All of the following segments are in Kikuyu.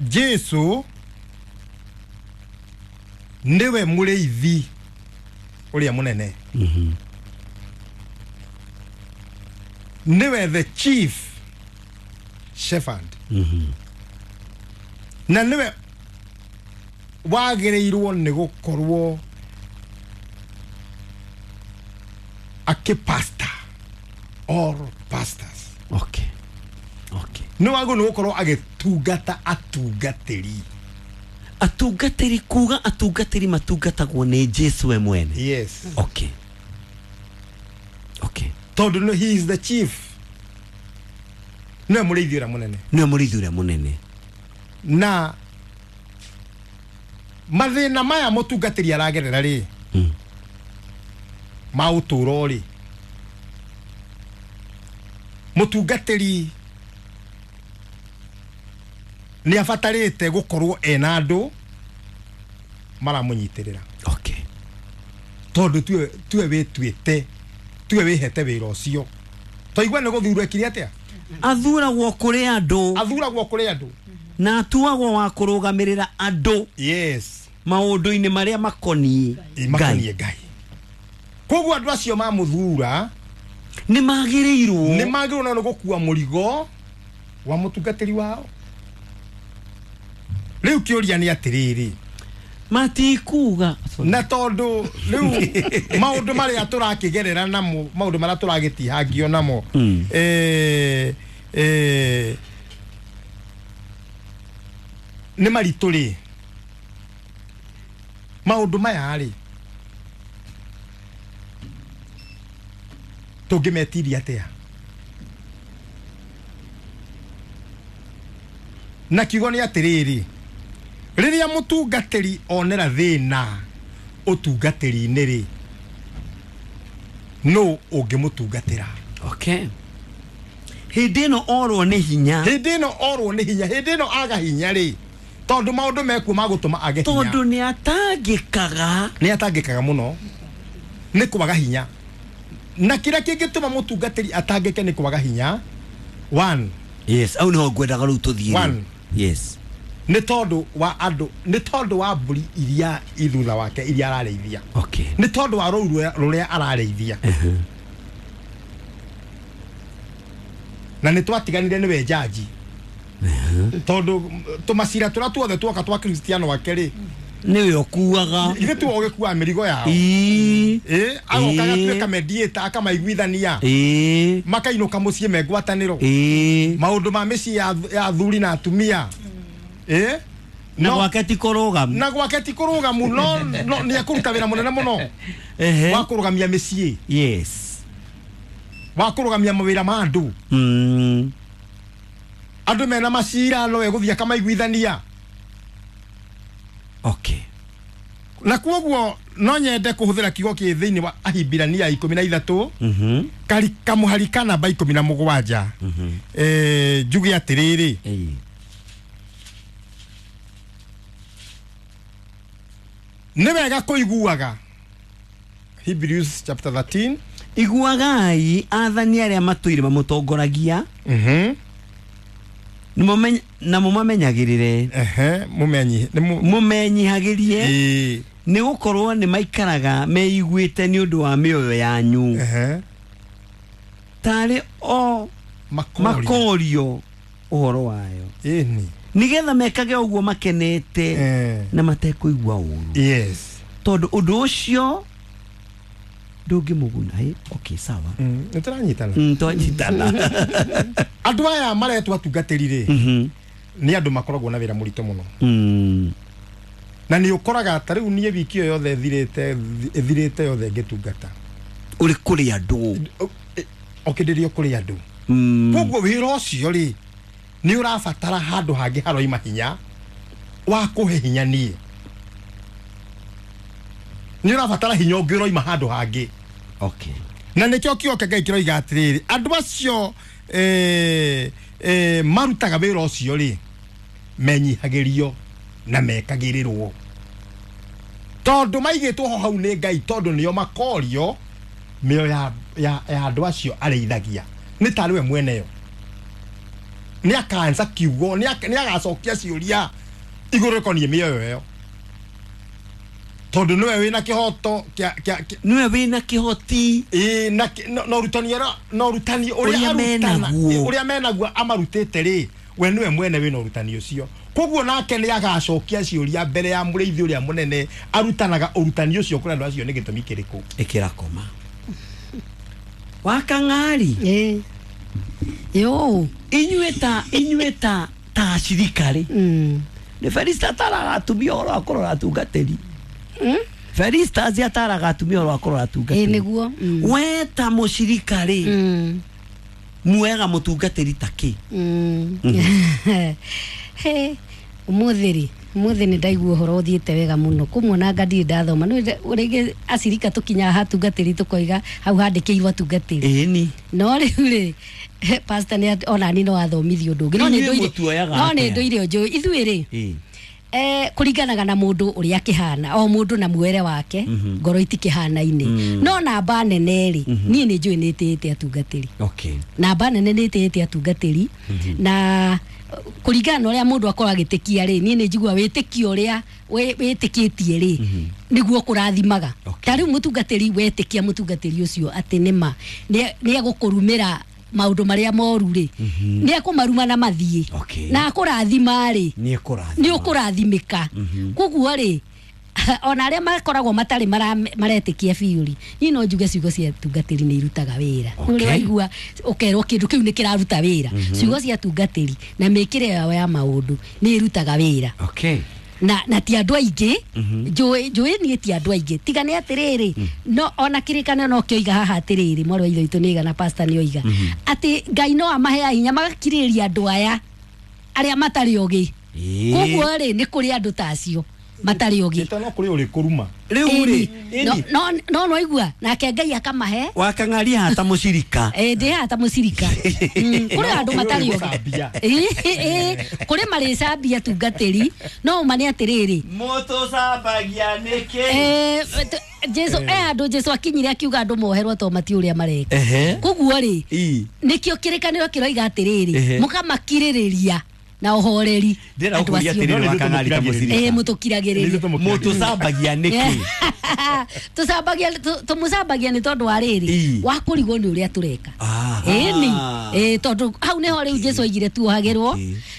Jesu nĩwe mũrĩithi ũrĩa mũnene. Nĩwe the chief shepherd. Na nĩwe wagĩrĩirwo nĩ gũkorwo akĩpasta all pastors. Okay. Okay. Nĩ wagĩrĩirwo nĩ gũkorwo agĩtungata atungatĩri. Atungatĩri, kuga atungatĩri matungatagwo nĩ Jesu we mwene. Yes. Okay. Okay. Tondũ he is the chief, nĩwe mũrĩithi ũrĩa mũnene. Nĩwe mũrĩithi ũrĩa mũnene. Na mathĩna maya mũtungatĩri aragerera rĩ, ma ũtũũro rĩ, mũtungatĩri nĩ abatarĩte gũkorwo ena andũ maramũnyitĩrĩra. Okay. Tondũ tuwe wĩtuĩte, tuwe wĩhete wĩra ũcio, twaigua nĩ gũthurwo ekire atĩa? Athuragwo kũrĩ andũ. Athuragwo kũrĩ andũ. Na atuagwo wa kũrũgamĩrĩra andũ. Yes. Maũndũ-inĩ marĩa makoniĩ Ĩ, makoniĩ Ngai. Koguo andũ acio mamũthura nĩ magĩrĩirwo, nĩ magĩrĩirwo nĩ gũkua mũrigo wa mũtungatĩri wao. Rĩu kĩũria nĩ atĩrĩrĩ, matikuga na tondũ rĩu maũndũ marĩa tũrakĩgerera namo, maũndũ marĩa tũragĩtihangio namo, nĩ maritũ rĩ, maũndũ maya rĩ tũngĩmetiria atĩa? Na kiugo nĩ atĩrĩrĩ, rĩrĩa mũtungatĩri onera thĩna ũtungatĩri-inĩ rĩ, nũ ũngĩmũtungatĩra? Okay. Hĩndĩ ĩno orwo nĩ hinya. Hĩndĩ ĩno orwo nĩ hinya, hĩndĩ ĩno aga hinya rĩ, tondũ maũndũ mekuo magũtũma age hinya. Tondũ nĩ atangĩkaga. Nĩ atangĩkaga mũno nĩ kwaga hinya. Na kĩrĩa kĩngĩtũma mũtungatĩri atangĩke nĩ kwaga hinya. One. Yes, au nĩho ngwendaga rĩu tũthiĩ. One. Yes. Nĩ tondũ wa andũ, nĩ tondũ wa mbũri iria i thutha wake iria ararĩithia. Okay. Nĩ tondũ wa rũũru rũrĩa ararĩithia. Na nĩ twatiganire nĩwe jaji. Tondũ tũmacira tũrĩa tuothe tuoka twa Kristiano ake rĩ, nĩwe ũkuaga. Ithuĩ tiwe ũgĩkuaga mĩrigo yao. Ĩĩ. Agoka Ĩĩ. agatuĩka mediator, akamaiguithania. Ĩĩ. Makainũka mũciĩ me ngwatanĩro. Ĩĩ. Maũndũ ma mĩciĩ ya athuri na atumia. Ĩĩ. Na No. gwake ti kũrũgamu. Na gwake ti kũrũgamu, no nĩ ekũruta wĩra mũnene mũno. Ehe. Wa kũrũgamia mĩciĩ. Yes. Wa kũrũgamia mawĩra ma andũ. Andũ mena macira no egũthiĩ akamaiguithania. Okay. Na kuoguo no nyende kũhũthĩra kiugo kĩ thĩinĩ wa Ahibirania 13, kari kamũhari ka namba 17. Njuge atĩrĩrĩ, nĩ wega kũiguaga. Hebrews chapter 13. Iguagai athani arĩa matũire mamũtongoragia. Na mũmamenyagĩrĩre. Ehe, mũmenyi, nĩ Mũmenyihagĩrie. Ĩĩ. Nĩ gũkorwo nĩ maikaraga meiguĩte nĩ ũndũ wa mĩoyo yanyu. Ehe. Tarĩ o Makorio. makorio ũhoro wayo. Ĩni. Nĩgetha mekage ũguo makenete na matekũigua ũũru. Yes. Tondũ ũndũ ũcio ndũngĩmũguna. Ĩ, okay, sawa. Nĩ tũranyitana. Twanyitana. Andũ aya maretwo atungatĩri rĩ, nĩ andũ makoragwo na wĩra mũritũ mũno. Na nĩ ũkoraga ta rĩu niĩ wiki ĩyo yothe ĩthirĩte yothe ngĩtungata. Ũrĩ kũrĩ andũ. Okĩndĩrio kũrĩ andũ. Koguo wĩra ũcio rĩ, nĩ ũrabatara handũ hangĩ haroima hinya wa kũhe hinya niĩ. Nĩ ũrabatara hinya ũngĩ ũroima handũ hangĩ. Okay. Na nĩkĩo kiugo kĩa Ngai kĩroiga atĩrĩrĩ, andũ acio, marutaga wĩra ũcio rĩ, menyihagĩrio na mekagĩrĩrwo. Tondũ maigĩtwo ho hau nĩ Ngai, tondũ nĩo makorio mĩoyo ya andũ acio arĩithagia. Nĩ tarĩ we mweneyo. Nĩ akansa kiugo nĩ agacokia ciũria igũrũ rĩkoniĩ mĩoyo ĩyo tondũ nĩwe wĩna kĩhoto nĩwe wĩna kĩhoti na na ũrutani ũrĩa menaguo amarutĩte rĩ we nĩwe mwene wĩna ũrutani ũcio koguo nake nĩ agacokia ciũria mbere ya mũrĩithi ũrĩa mũnene arutanaga ũrutani ũcio kũrĩ andũ acio nĩ gĩtũmi kĩrĩkũ ĩkĩra koma wakang'ari yo inyuĩ ta acirika rĩ nĩ Felista ataraga atumia ũhoro wa kũrora atungatĩri Felista ataraga atumia ũhoro wa kũrora atungatĩri nĩguo we ta mũcirika rĩ muega mũtungatĩri ta kĩ he ũmũthĩ nĩ ndaigua ũhoro ũthiĩte wega mũno kũmwona nga ndirĩ ndathoma nĩ rĩngĩ acirika tũkinyaga hatungatĩri tũkoiga hau handĩkĩirwo atungatĩri ĩni no rĩu rĩ pastor nĩ onani no athomithio ũndũ ũngĩ no nĩ ndũire njũĩ ithuĩ rĩ kũringanaga na mũndũ ũrĩa akĩhana o mũndũ na muere wake ngoro itikĩhanaine no namba nene rĩ niĩ nĩ njũĩ nĩ ĩtĩĩte atungatĩri namba nene nĩ ĩtĩĩte atungatĩri na kũringana na ũrĩa mũndũ akorwo agĩtĩkia rĩ niĩ nĩ njigua wĩtĩkio ũrĩa wĩtĩkĩtie rĩ nĩguo kũrathimaga ta rĩu mũtungatĩri wetĩkia mũtungatĩri ũcio atĩ nĩma nĩ egũkũrumĩra maũndũ marĩa moru rĩ nĩ ekũmaruma na mathiĩ na akũrathima rĩ nĩ ũkũrathimĩka koguo rĩ ona arĩa makoragwo matarĩ maretĩkia biũ rĩ niĩ no njuge ciugo cia tungatĩri nĩ irutaga wĩra ũrĩa waigua ũkerwo kĩndũ kĩu nĩ kĩraruta wĩra ciugo cia tungatĩri na mĩkĩre yao ya maũndũ nĩ irutaga wĩra na ti andũ aingĩ njũĩ niĩ ti andũ aingĩ tiga nĩ atĩrĩrĩ no ona kĩrĩkanĩro no kĩoiga haha atĩrĩrĩ mwarĩ wa ithe witũ nĩiga na pastor nĩoiga atĩ Ngai no amaheaga hinya magakirĩrĩria andũ aya arĩa matarĩ ogĩ koguo rĩ nĩ kũrĩ andũ ta acio matarĩ ogĩ no kũrĩ ũrĩ kũruma rĩu rĩ no no igua nake Ngai akamahe wakang'aria hata mũcirika ndĩ hata mũcirika kũrĩ andũ matarĩ ogĩ kũrĩ marĩcambia tungatĩri no ũma nĩ atĩrĩrĩ mũtũcambagia nĩkĩ Jesu andũ Jesu akinyire akiuga andũ moherwo to mati ũrĩa mareka koguo rĩ nĩkĩo kĩrĩkanĩro kĩroiga atĩrĩrĩ mũkamakirĩrĩria na ũhoreri ndĩra ũkũria atĩrĩrĩ wakang'ari ta mũcirika mũtũkiragĩrĩria mũtũcambagia nĩkĩ tũcambagia tũmũcambagia nĩ tondũ wa rĩrĩ wa kũrigwo nĩ ũrĩa tũreka ĩni tondũ hau nĩho rĩu Jesu aigire tuohagĩrwo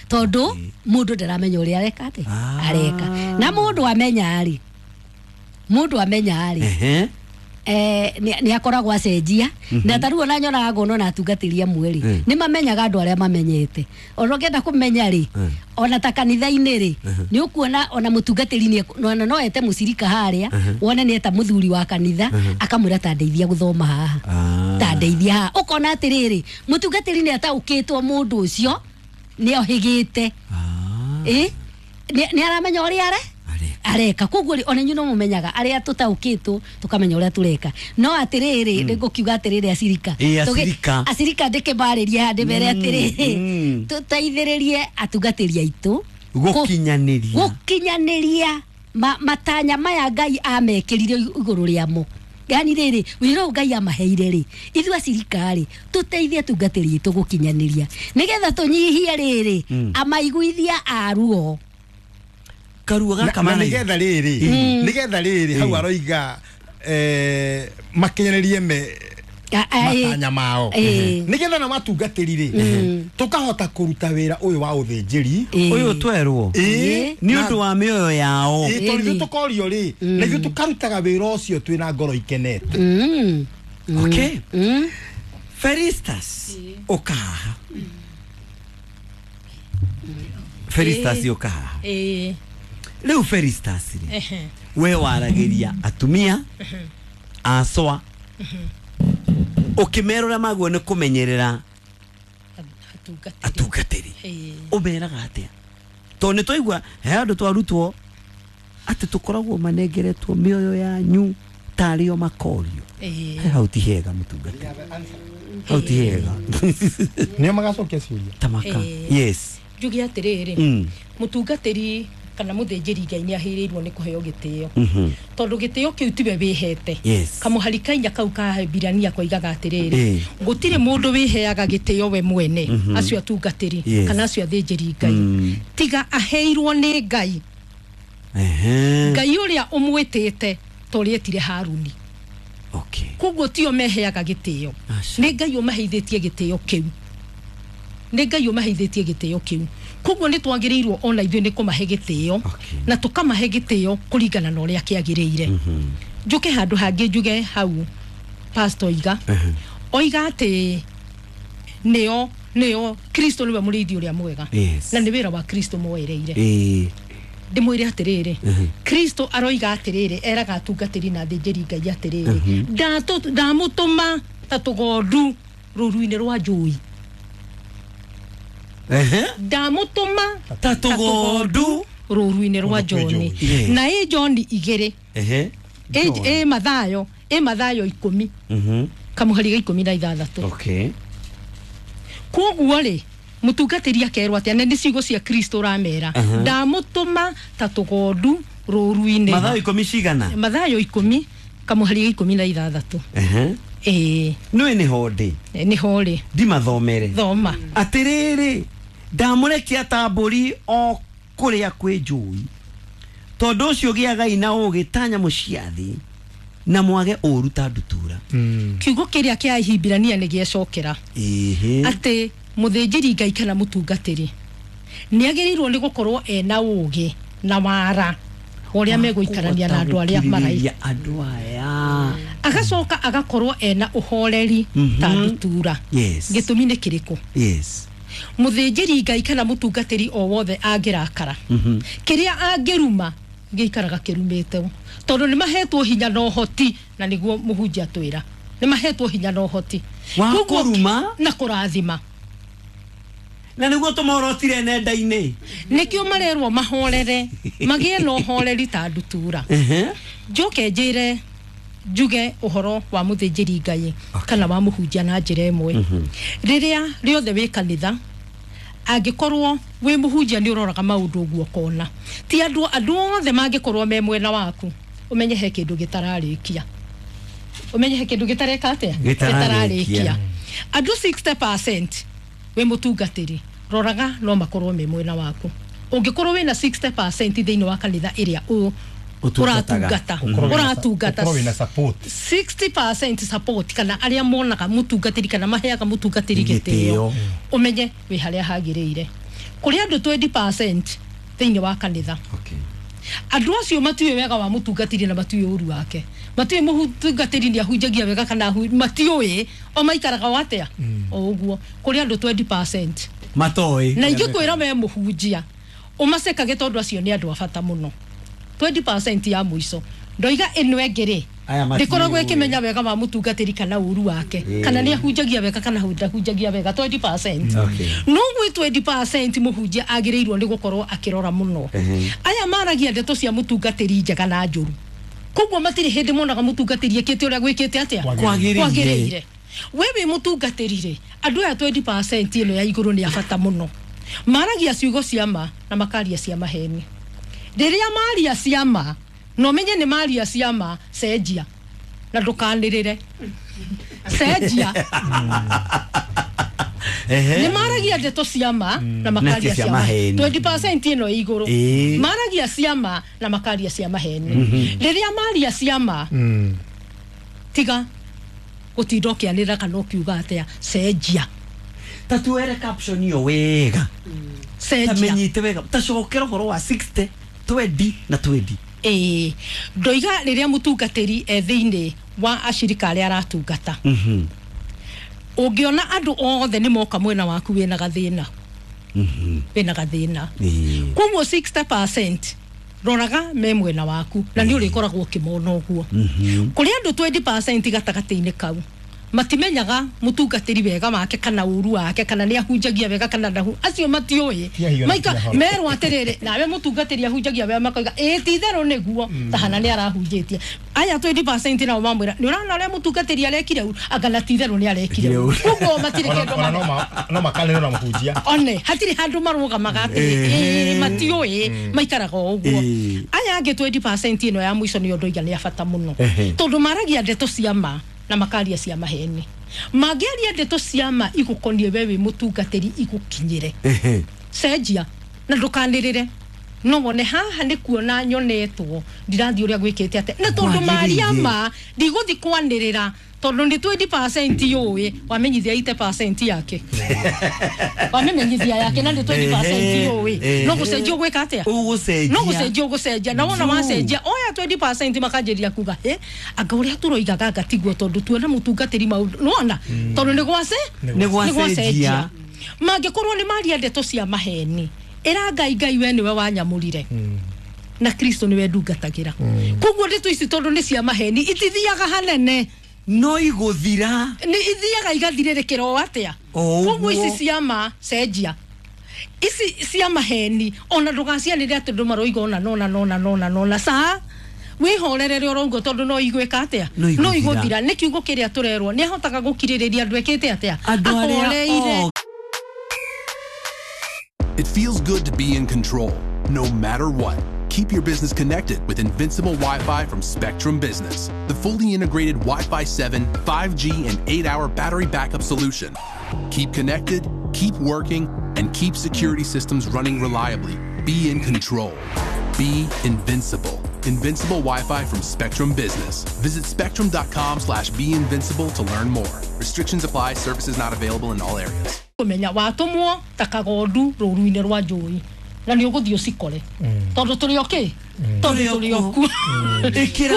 tondũ mũndũ ndaramenya ũrĩa areka atĩ areka na mũndũ amenya rĩ nĩ akoragwo acenjia na ta rĩu ona nyonaga ngono na atungatĩri amwe rĩ nĩ mamenyaga andũ arĩa mamenyete ona ũngĩenda kũmenya rĩ ona ta kanitha-inĩ rĩ nĩ ũkuona ona mũtungatĩri no ete mũcirika harĩa wone nĩ eta mũthuri wa kanitha akamwĩra ta ndeithia gũthoma haha ta ndeithia haha ũkona atĩrĩrĩ mũtungatĩri nĩ ataũkĩtwo mũndũ ũcio nĩ ohĩgĩte nĩ aramenya ũrĩa are areka koguo ona inyuĩ no mũmenyaga arĩa tũtaũkĩtwo tũkamenya ũrĩa tũreka no atĩrĩrĩ nĩngũkiuga atĩrĩrĩ acirika acirika ndĩkĩmarĩrie haha ndĩmere atĩrĩrĩ tũteithĩrĩrie atungatĩri aitũ gũkinyanĩria matanya maya Ngai amekĩrire igũrũ rĩamo yani rĩrĩ wĩra ũyũ Ngai amaheire rĩ ithuĩ acirika rĩ tũteithie atungatĩri aitũ gũkinyanĩria nĩgetha tũnyihie rĩrĩ amaiguithia a ruo karuo gaka na nigetha rĩrĩ nigetha rĩrĩ hau aroiga makinyanĩrie me matanya mao nigetha na matungatĩri rĩ tũkahota kũruta wĩra ũyũ wa ũthĩnjĩri ũyũ twerwo nĩ ũndũ wa mĩoyo yao tondũ ithuĩ tũkorio rĩ na ithuĩ tũkarutaga wĩra ũcio twĩna ngoro ikenete okay Felistas ũkahaha Felistas ũkahaha rĩu Felistas rĩ we waragĩria atumia acwa ũkĩmera ũrĩa maguo nĩ kũmenyerera atungatĩri ũmeraga atĩa tondũ nĩ twaigua he andũ twarutwo atĩ tũkoragwo manengeretwo mĩoyo yanyu tarĩ o makorio hau ti hega mũtungatĩri hau ti hega nĩo magacokia ciũria tamaka yes njuge atĩrĩrĩ mũtungatĩri kana mũthĩnjĩri Ngai nĩ ahĩrĩirwo nĩ kũheo gĩtĩo tondũ gĩtĩo kĩu tiwe wĩhete. Kamũhari kainya kau ka Hebirania koigaga atĩrĩrĩ, gũtirĩ mũndũ wĩheaga gĩtĩo we mwene, acio atungatĩri kana acio athĩnjĩri Ngai, tiga aheirwo nĩ Ngai. Ngai ũrĩa ũmwĩtĩte ta ũrĩa etire Haruni. Koguo tio meheaga gĩtĩo, nĩ Ngai ũmaheithĩtie gĩtĩo kĩu, nĩ Ngai ũmaheithĩtie gĩtĩo kĩu. Koguo nĩ twagĩrĩirwo ona ithuĩ nĩ kũmahe gĩtĩo na tũkamahe gĩtĩo kũringana na ũrĩa kĩagĩrĩire. Njũke handũ hangĩ njuge hau pastor oiga oiga atĩ nĩo Kristo nĩwe mũrĩithi ũrĩa mwega na nĩ wĩra wa Kristo moereire. Ndĩmwĩre atĩrĩrĩ, Kristo aroiga atĩrĩrĩ, eraga atungatĩri na athĩnjĩri Ngai atĩrĩrĩ, ndamũtũma ta tũgondu rũru-inĩ rwa njũi. Ndamũtũma ta tũgondu rũru-inĩ rwa njũi. Na ĩ John igĩrĩ, ĩ Mathayo, ĩ Mathayo 10 kamũhari ga 16. Koguo rĩ, mũtungatĩri akerwo atĩa? Na nĩ ciugo cia Kristo ũramera, ndamũtũma ta tũgondu rũru-inĩ. Mathayo 10 cigana? Mathayo 10 kamũhari ga 16. Ĩĩ nĩwe nĩho ndĩ, nĩho rĩ, ndimathomere. Thoma. Atĩrĩrĩ, ndamũrekia ta mbũri o kũrĩa kwĩ njũi, tondũ ũcio gĩagai na ũũgĩ ta nyamũ cia thĩ na mwage ũũru ta ndutura. Kiugo kĩrĩa kĩa Ahibirania nĩ gĩecokera atĩ mũthĩnjĩri Ngai kana mũtungatĩri nĩ agĩrĩirwo nĩ gũkorwo ena ũũgĩ na wara ũrĩa megũikarania na andũ arĩa maraika andũ aya, agacoka agakorwo ena ũhoreri ta ndutura. Gĩtũmi nĩ kĩrĩkũ? Mũthĩnjĩri Ngai kana mũtungatĩri o wothe angĩrakara, kĩrĩa angĩruma gĩikaraga kĩrumĩte, tondũ nĩ mahetwo hinya na ũhoti, na nĩguo mũhunjia atwĩra nĩ mahetwo hinya na ũhoti wa kũruma na kũrathima, na nĩguo tũmorotire nenda-inĩ. Nĩkĩo marerwo mahorere, magĩe na ũhoreri ta ndutura. Njoke njĩre njuge ũhoro wa mũthĩnjĩri Ngai kana wa mũhunjia na njĩra ĩmwe. Rĩrĩa rĩothe wĩ kanitha, angĩkorwo wĩ mũhunjia nĩ ũroraga maũndũ ũguo ũkona ti andũ othe mangĩkorwo me mwena waku, ũmenye he kĩndũ gĩtararĩkia, ũmenye he kĩndũ gĩtareka atĩa, gĩtararĩkia. Andũ 60% wĩ mũtungatĩri, roraga no makorwo me mwena waku. Ũngĩkorwo wĩna 60% thĩinĩ wa kanitha ĩrĩa ũratungata, ũratungata 60% support, kana arĩa monaga mũtungatĩri kana maheaga mũtungatĩri gĩtĩo, ũmenye wĩ harĩa hagĩrĩire. Kũrĩ andũ 20% thĩinĩ wa kanitha, andũ acio matiũĩ wega wa mũtungatĩri na matiũĩ ũru wake, matiũĩ mũtungatĩri nĩ ahunjagia wega kana matiũĩ, o maikaraga o atĩa o ũguo. Kũrĩ andũ 20% matoĩ, na ingĩkwĩra we mũhunjia ũmacekage tondũ acio nĩ andũ a bata mũno. 20% ya mũico ndoiga ĩno ĩngĩ rĩ, ndĩkoragwo ĩkĩmenya wega wa mũtungatĩri kana ũru wake, kana nĩ ahunjagia wega kana ndahunjagia wega. 20%. No gwĩ 20% mũhunjia agĩrĩirwo nĩ gũkorwo akĩrora mũno. Aya maragia ndeto cia mũtungatĩri njega na njũru, koguo matirĩ hĩndĩ monaga mũtungatĩri ekĩte ũrĩa gwĩkĩte atĩa kwagĩrĩire. We wĩ mũtungatĩri rĩ, andũ aya 20% ĩno ya igũrũ nĩ a bata mũno. Maragia ciugo cia ma na makaria cia maheni. Rĩrĩa maria cia ma, no menye nĩ maria cia ma, cenjia na ndũkanĩrĩre, cenjia. Nĩ maragia ndeto cia ma na makaria cia maheni. 20% ĩno igũrũ maragia cia ma na makaria cia maheni. Rĩrĩa maria cia ma, tiga gũtinda ũkĩanĩrĩra kana ũkiuga atĩa, cenjia. Ta tuere caption ĩyo wega, cenjia, tamenyite wega, ta cokera ũhoro wa 60 20 na 20. Ĩĩ, ndoiga rĩrĩa mũtungatĩri e thĩinĩ wa acirika arĩa aratungata, ũngĩona andũ othe nĩ moka mwena waku wĩna gathĩna, wĩna gathĩna. Koguo 60% roraga me mwena waku na nĩ ũrĩkoragwo ũkĩmona ũguo. Kũrĩ andũ 20% gatagatĩ-inĩ kau Matimenyaga mutungatiri wega wake kana uru wake kana ni ahunjagia wega kana ndahu acio matiũĩ maika merwo atiriri nawe mutungatiri ahunjagia wega makoiga ĩ ti itherũ nĩguo tahana nĩ arahunjĩtie aya 20% nao mamwĩra nĩ ũrona ũrĩa mũtungatĩri arekire ũru anga na ti itherũ nĩ arekire ũru koguo matirĩ kĩndũ no makanĩrwo na mũhunjia one hatirĩ handũ marũgamaga atĩrĩ matiũĩ maikaraga o ũguo aya angĩ 20% ĩno ya mũico nĩyo ndoiga nĩ ya bata mũno tondũ maragia ndeto cia ma na makaria cia maheni mangĩaria ndeto cia ma igũkoniĩ we wĩ mũtungatĩri igũkinyĩre cenjia na ndũkanĩrĩre no wone haha nĩ kuona nyonetwo ndirathiĩ ũrĩa gwĩkĩte atĩa na tondũ maria ma ndigũthiĩ kwanĩrĩra tondũ nĩ 20% yũĩ wamenyithia 80% yake wamenyithia yake na nĩ 20% yũĩ no gũcenjia ũgwĩka atĩa no gũcenjia ũgũcenjia na wona wacenjia oya 20% makanjĩrĩria kuga anga ũrĩa tũroigaga anga tiguo tondũ tuona mũtungatĩri maũndũ nĩwona tondũ nĩ gwacenjia mangĩkorwo nĩ maria ndeto cia maheni ĩra Ngai Ngai we nĩwe wanyamũrire na Kristo nĩwe ndungatagĩra koguo ndeto ici tondũ nĩ cia maheni itithiaga hanene no igũthira nĩ ithiaga igathirĩrĩkĩra o atĩa koguo ici cia ma cenjia ici cia maheni ona ndũgacianĩre atĩ andũ maroiga ona nona nona nona nona sa wĩhorerere ũrongo tondũ no igwĩka atĩa no igũthira nĩ kiugo kĩrĩa tũrerwo nĩ ahotaga gũkirĩrĩria andũ ekĩte atĩa ahoreire. It feels good to be in control, no matter what. Keep your business connected with Invincible Wi-Fi from Spectrum Business, the fully integrated Wi-Fi 7, 5G, and 8-hour battery backup solution. Keep connected, keep working, and keep security systems running reliably. Be in control. Be invincible. Invincible Wi-Fi from Spectrum Business. Visit spectrum.com/beinvincible to learn more. Restrictions apply. Services not available in all areas. Kumenya watumwo ta kagondu rũru-inĩ rwa njũĩ na nĩ ũgũthiĩ ũcikore tondũ tũrĩ okay tondũ tũrĩ okuo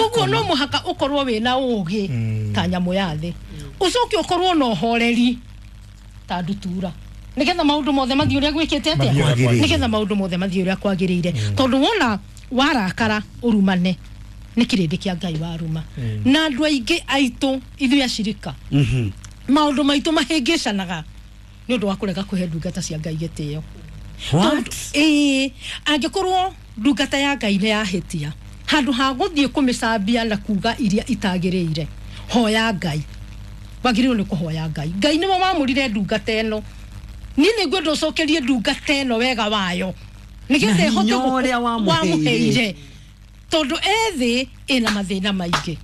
koguo no mũhaka ũkorwo wĩna ũgĩ ta nyamũ ya thĩ ũcoke ũkorwo na ũhoreri ta ndutura nĩgetha maũndũ mothe mathiĩ ũrĩa gwĩkĩte atĩa nĩgetha maũndũ mothe mathiĩ ũrĩa kwagĩrĩire tondũ wona warakara ũrumane nĩ kĩrĩndĩ kĩa Ngai waruma na andũ aingĩ aitũ ithuĩ acirika maũndũ maitũ mahĩngĩcanaga nĩ ũndũ wa kũrega kũhe ndungata cia Ngai gĩtĩo. Angĩkorwo ndungata ya Ngai nĩ yahĩtia handũ ha gũthiĩ kũmĩcambia na kuga iria itagĩrĩire hoya Ngai wagĩrĩirwo nĩ kũhoya Ngai Ngai nĩwe wamũrire ndungata ĩno niĩ nĩngwenda ũcokerie ndungata ĩno wega wayo nĩgetha ĩhote ũrĩa wamũheire tondũ ethĩ ĩna mathĩna maingĩ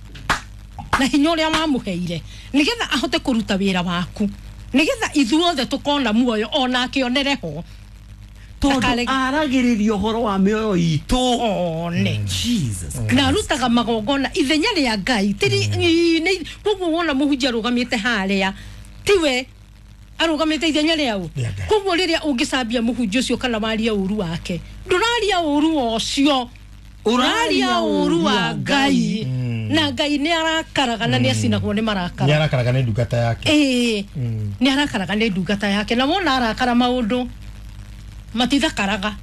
na hinya ũrĩa wamũheire nĩgetha ahote kũruta wĩra waku nĩgetha ithuothe tũkona muoyo ona akĩonere ho tondũ aragĩrĩria ũhoro wa mĩoyo itũ one Jesus na arutaga magongona ithenya rĩa Ngai koguo wona mũhunjia arũgamĩte harĩa tiwe arũgamĩte ithenya rĩau koguo rĩrĩa ũngĩcambia mũhunjia ũcio kana warie ũru wake ndũraria ũru ũcio ũraria ũru wa Ngai na Ngai nĩ arakaraga na nĩ acinagwo nĩ marakara nĩ arakaraga nĩ ndungata yake nĩ arakaraga nĩ ndungata yake na wona arakara maũndũ matithakaraga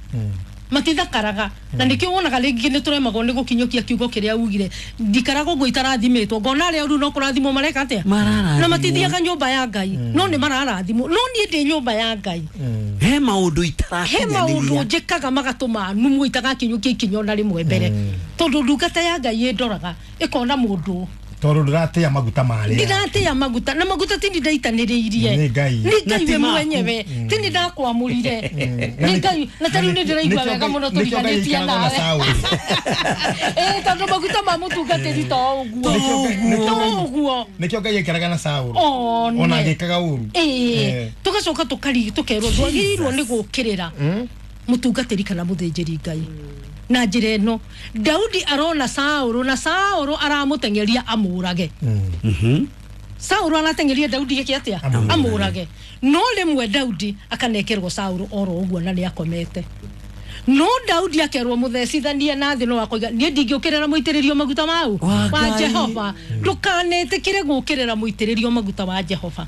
matithakaraga na nĩkĩo wonaga rĩngĩ nĩ tũremagwo nĩ gũkinyũkia kiugo kĩrĩa ugire ndikaraga ũguo itarathimĩtwo ngona arĩa ũru no kũrathimwo mareka atĩa na matithiaga nyũmba ya Ngai no nĩ mararathimwo no niĩ ndĩ nyũmba ya Ngai he maũndũ itarakinyanĩria he maũndũ njĩkaga magatũma numwo itagakinyũkia ikinya ona rĩmwe mbere tondũ ndungata ya Ngai ĩndoraga ĩkona mũndũ tondũ ndũratĩa maguta marĩa ndiratĩa maguta na maguta ti ndaitanĩrĩirie nĩ Ngai nĩ Ngai we mwenyewe ti nĩ ndakwamũrire nĩ Ngai na tarĩu nĩ ndĩraigua wega mũno tũriganĩtie nawe tondũ maguta ma mũtungatĩri to ũguo nĩkĩo Ngai aikaraga na Saũlũ ona agĩkaga ũru tũgacoka tũkerwo ndwagĩrĩirwo nĩ gũũkĩrĩra mũtungatĩri kana mũthĩnjĩri Ngai na njĩra ĩno Daudi arona Saũlũ na Saũlũ aramũteng'eria amũrage Saũlũ arateng'eria Daudi gĩke atĩa amũrage no rĩmwe Daudi akanekerwo Saũlũ oro ũguo na nĩ akomete no Daudi akerwo mũthecithanie na thĩ no akoiga niĩ ndingĩũkĩrĩra mũitĩrĩrio maguta mau wa Jehova ndũkanetĩkĩre gũũkĩrĩra mũitĩrĩrio maguta wa Jehova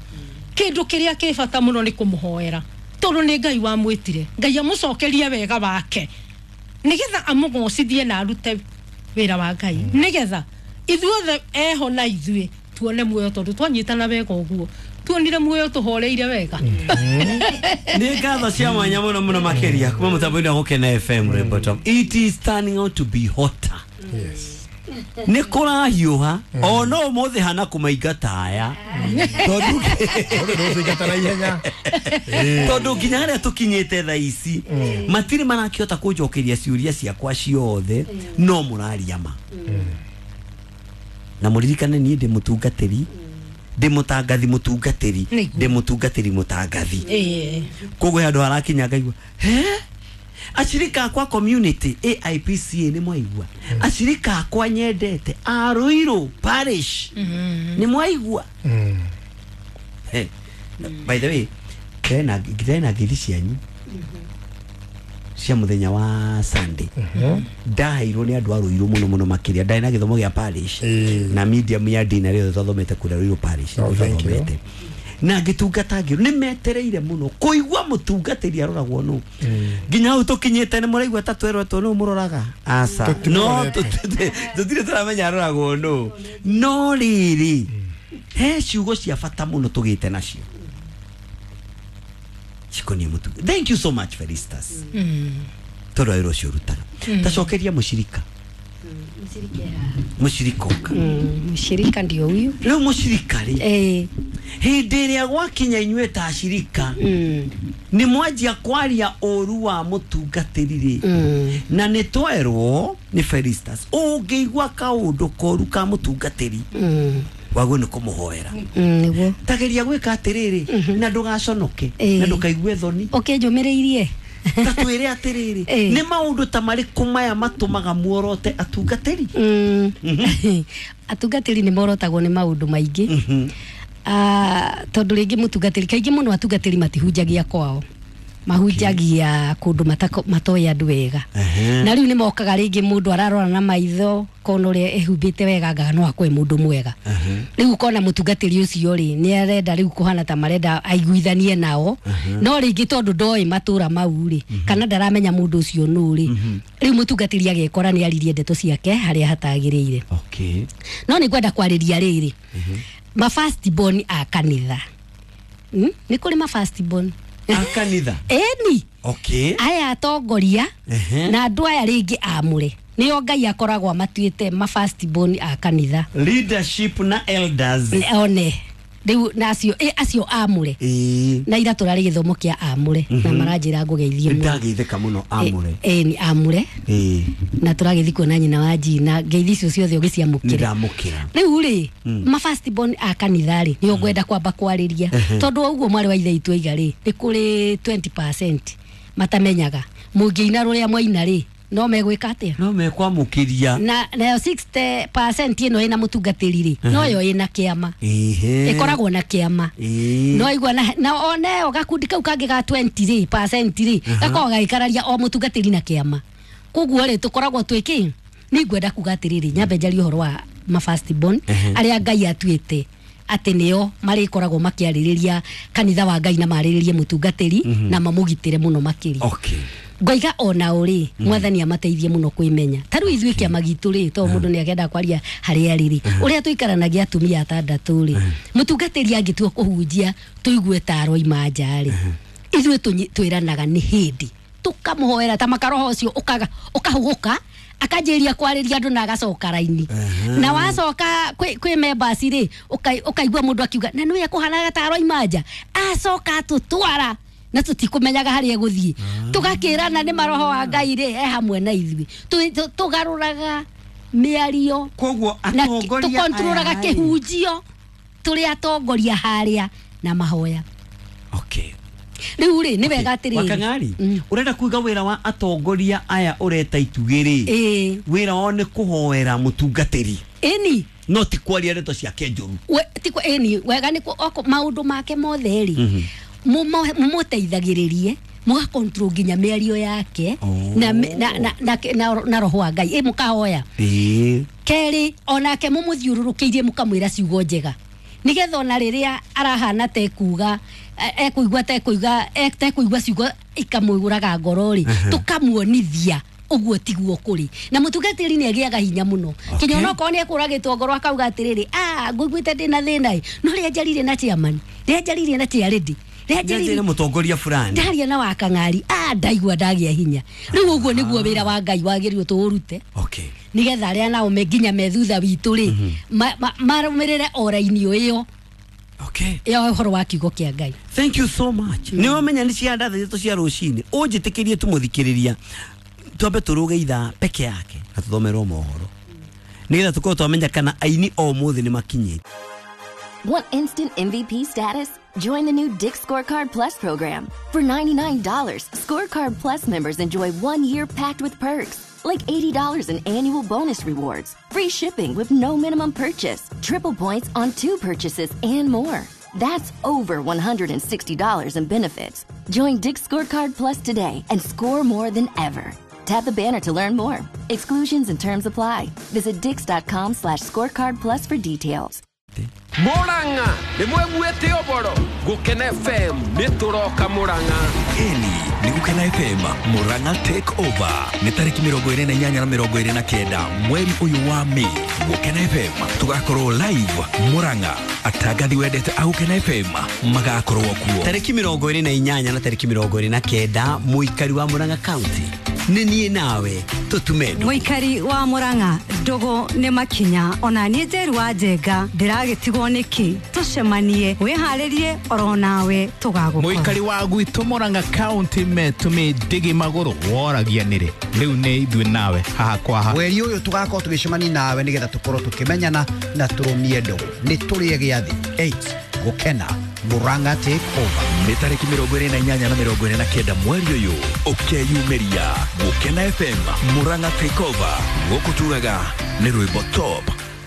kĩndũ kĩrĩa kĩ bata mũno nĩ kũmũhoera tondũ nĩ Ngai wamwĩtire Ngai amũcokerie wega wake nigetha amũgocithie na arute wĩra wa Ngai nigetha ithuothe eho na ithuĩ Tuone muoyo tondu twanyitana wega uguo. Tuonire muoyo tuhoreire wega. Nĩ ngatho cia mwanya mũno mũno makĩria kuma mũtambo-inĩ wa Gũkena FM Rainbow. It is turning out to be hotter. Yes. Nĩ kũrahiũha ona ũmũthĩ hana kũmaingata aya tondu tondu nginya harĩa tũkinyĩte thaa ici matirĩ marakĩhota kũnjokeria ciũria ciakwa ciothe no mũraria ma. Na mũririkane niĩ ndĩ mũtungatĩri, ndĩ mũtangathi mũtungatĩri, ndĩ mũtungatĩri mũtangathi. Koguo handũ harakinya ngaigua he ashirika akwa community AIPCA nĩ mwaigua, ashirika akwa nyendete a Ruiru parish nĩ mwaigua. By the way, ndĩrena ngeithi cianyu cia muthenya wa Sunday. Ndaheirwo nĩ andũ a Ruiru mũno mũno makĩria. Ndarĩ na gĩthomo gĩa parish na medium ya ndini rĩothe twathomete kũrĩa Ruiru parish twathomete. Na ngĩtungata ngĩrwo nĩ metereire mũno kũigua mũtungatĩri aroragwo nũ. Nginya hau tũkinyĩte nĩ mũraigua ta twerwetwo nũ mũroraga. Aca no tũtirĩ tũramenya aroragwo nũ. No rĩrĩ he ciugo cia bata mũno tũgĩte nacio cikoniĩ mũtungatĩri. Thank you so much Felistas. Tondũ wĩra ũcio ũrutaga. Tacokeria mũcirika. Mũcirika ũka. Mũcirika ndio huyu. Rĩu mũcirika rĩ hĩndĩ ĩrĩa gwakinya inyuĩ ta acirika nĩ mwanjia kwaria ũru wa mũtungatĩri rĩ, na nĩ twerwo nĩ Felistas ũngĩigua kaũndũ koru ka mũtungatĩri wagwo nĩ kũmũhoera. Nĩguo tageria gwĩka atĩrĩrĩ na ndũgaconoke na ndũkaigue thoni. Ũkĩnjũmĩrĩirie ta twĩre atĩrĩrĩ nĩ maũndũ ta marĩkũ maya matũmaga muorote atungatĩri? Atungatĩri nĩ morotagwo nĩ maũndũ maingĩ. Tondũ rĩngĩ mũtungatĩri kaingĩ mũno atungatĩri matihunjagia kwao, mahunjagia kũndũ matoĩ andũ wega. Na rĩu nĩ mokaga rĩngĩ mũndũ ararora na maitho kona ũrĩa ehumbĩte wega anga no akwe mũndũ mwega. Rĩu ũkona mũtungatĩri ũcio rĩ nĩ arenda rĩu kũhana ta marenda aiguithanie nao, no rĩngĩ tondũ ndoĩ matũra mau rĩ kana ndaramenya mũndũ ũcio nũ rĩ, rĩu mũtungatĩri agekora nĩ aririe ndeto ciake harĩa hatagĩrĩire. No nĩ ngwenda kwarĩria rĩrĩ ma first born a kanitha. Nĩ kũrĩ ma first born a kanitha? Eni. Okay. Aya atongoria na andũ aya rĩngĩ amũre nĩo Ngai akoragwo amatuĩte ma first born a kanitha. Leadership na elders. One. Rĩu na acio acio amũre. Na ira tũrarĩ gĩthomo kĩa amũre na maranjĩra ngũgeithie mũno. Ndageithĩka mũno amũre. Ni amũre. Na tũragĩthiĩ kuona nyina wa Jina ngeithi icio ciothe ũgĩciamũkĩra. Ndamũkĩra. Rĩu rĩ ma first born a kanitha rĩ nĩo ngwenda kwamba kwarĩria tondũ ũguo mwarĩ wa ithe witũ aiga rĩ nĩ kũrĩ 20% matamenyaga mũngĩina rũrĩa mwaina rĩ no megwĩka atĩa? No mekwamũkĩria. Na nayo 60% ĩno ĩna mũtungatĩri rĩ noyo ĩna kĩama. Ĩkoragwo na kĩama. No igua na oneyo gakundi kau kangĩ ga 20 rĩ percent rĩ gakoragwo gagĩkararia o mũtungatĩri na kĩama. Koguo rĩ tũkoragwo twĩkĩ nĩ ngwenda kuga atĩrĩrĩ nyambe njarie ũhoro wa ma first born arĩa Ngai atuĩte atĩ nĩo marĩkoragwo makĩarĩrĩria kanitha wa Ngai na marĩrĩrie mũtungatĩri na mamũgitĩre mũno makĩria. Ngoiga ona ũrĩ mwathani amateithie mũno kwĩmenya. Ta rĩu ithuĩ kĩama gitũ rĩ to mũndũ nĩ akenda kwaria harĩa arĩ rĩ ũrĩa tũikaranagia atumia atandatũ rĩ mũtungatĩri angĩtua kũhunjia tũigue ta aroima nja rĩ ithuĩ twĩranaga nĩ hĩndĩ tũkamũhoera ta makaroho ũcio ũkahũgũka akanjĩria kwarĩria andũ na agacoka raini. Na wacoka kwĩ members rĩ ũkaigua mũndũ akiuga na nĩwe ekũhanaga ta aroima nja acoka atũtwara na tũtikũmenyaga harĩa egũthiĩ. Tũgakĩrana nĩ maroho wa Ngai rĩ e hamwe na ithuĩ. Tũgarũraga mĩario. Koguo atongoria tũkontrolaga kĩhunjio tũrĩ atongoria harĩa na mahoya. Okay. Rĩu rĩ nĩ wega atĩrĩrĩ Wakang'ari ũrenda kuiga wĩra wa atongoria aya ũreta itugĩ rĩ wĩra wao nĩ kũhoera mũtungatĩri. Ĩni. No ti kwaria ndeto ciake njũru. Ĩni wega nĩ maũndũ make mothe rĩ mumuteithagĩrĩrie mugakontrol nginya mĩario yake na roho wa Ngai mũkahoya. Kerĩ onake mumuthiũrũrũkĩirie mũkamwĩra ciugo njega nigetha ona rĩrĩa arahana tekuga ekuigua tekuigua tekuigua ciugo ikamũgũraga ngoro rĩ tũkamuonithia Ũguo tiguo kũrĩ. Na mũtungatĩri nĩ agĩaga hinya mũno. Kinya onokorwo nĩ ekũragĩtwo ngoro akauga atĩrĩrĩ, ngũiguĩte ndĩna thĩna ĩ, no rĩrĩa njaririe na chairman, rĩrĩa njaririe na chairlady, rĩrĩa njaririe na mũtongoria fulani, ndaria na wakang'ari, ndaigua ndagĩa hinya. Rĩu ũguo nĩguo wĩra wa Ngai wagĩrĩirwo tũũrute. Okay. Nĩgetha arĩa nao me nginya me thutha witũ rĩ, marũmĩrĩre o raini ĩyo. Okay. Ya ũhoro wa kiugo kĩa Ngai. Thank you so much. Nĩ wamenya nĩ cia ndatha ithatũ cia rũcinĩ. Ũnjĩtĩkĩrie tũmũthikĩrĩria. Twambe tũrũge ithaa peke yake na tũthomerwo mohoro. Nĩgetha tũkorwo twamenya kana aini o mũthĩ nĩ makinyĩte. Want instant MVP status? Join the new Dick's Scorecard Plus program. For $99, Scorecard Plus members enjoy 1 year packed with perks, like $80 in annual bonus rewards, free shipping with no minimum purchase, triple points on 2 purchases, and more. That's over $160 in benefits. Join Dick's Scorecard Plus today and score more than ever. Tap the banner to learn more. Exclusions and terms apply. Visit dicks.com/scorecard plus for details. Murang'a nĩ mweguĩte ũboro Gũkena FM nĩ tũroka Murang'a. Eni nĩ Gũkena FM Murang'a take over nĩ tarĩki 28 na 29 mweri ũyũ wa Mei. Gũkena FM tũgakorwo live Murang'a. Atangathi wendete a Gũkena FM magakorwo kuo tarĩki 28 na tarĩki 29 mũikari wa Murang'a County. Nĩ niĩ nawe tũtume ndũgũ. Mũikari wa Murang'a ndũgũ nĩ makinya ona niĩ Njeru wa Njenga ndĩragĩtigwo nĩkĩ tũcemanie wĩharĩrie oro nawe tũgagũkora. Mũikari wa gwitũ Murang'a County metũmĩ ndĩgĩ magũrũ woragia nĩrĩ rĩu nĩ ithuĩ nawe haha kwa haha. Mweri ũyũ tũgakorwo tũgĩcemania nawe nĩgetha tũkorwo tũkĩmenyana na tũrũmie ndũgũ. Nĩ tũrĩe gĩathĩ 8 Gũkena Murang'a take over. Nĩ tarĩki 28 na 29 mweri ũyũ ũkeyumĩria Gũkena FM Murang'a take over. Gũkũ tugaga nĩ rwĩmbo top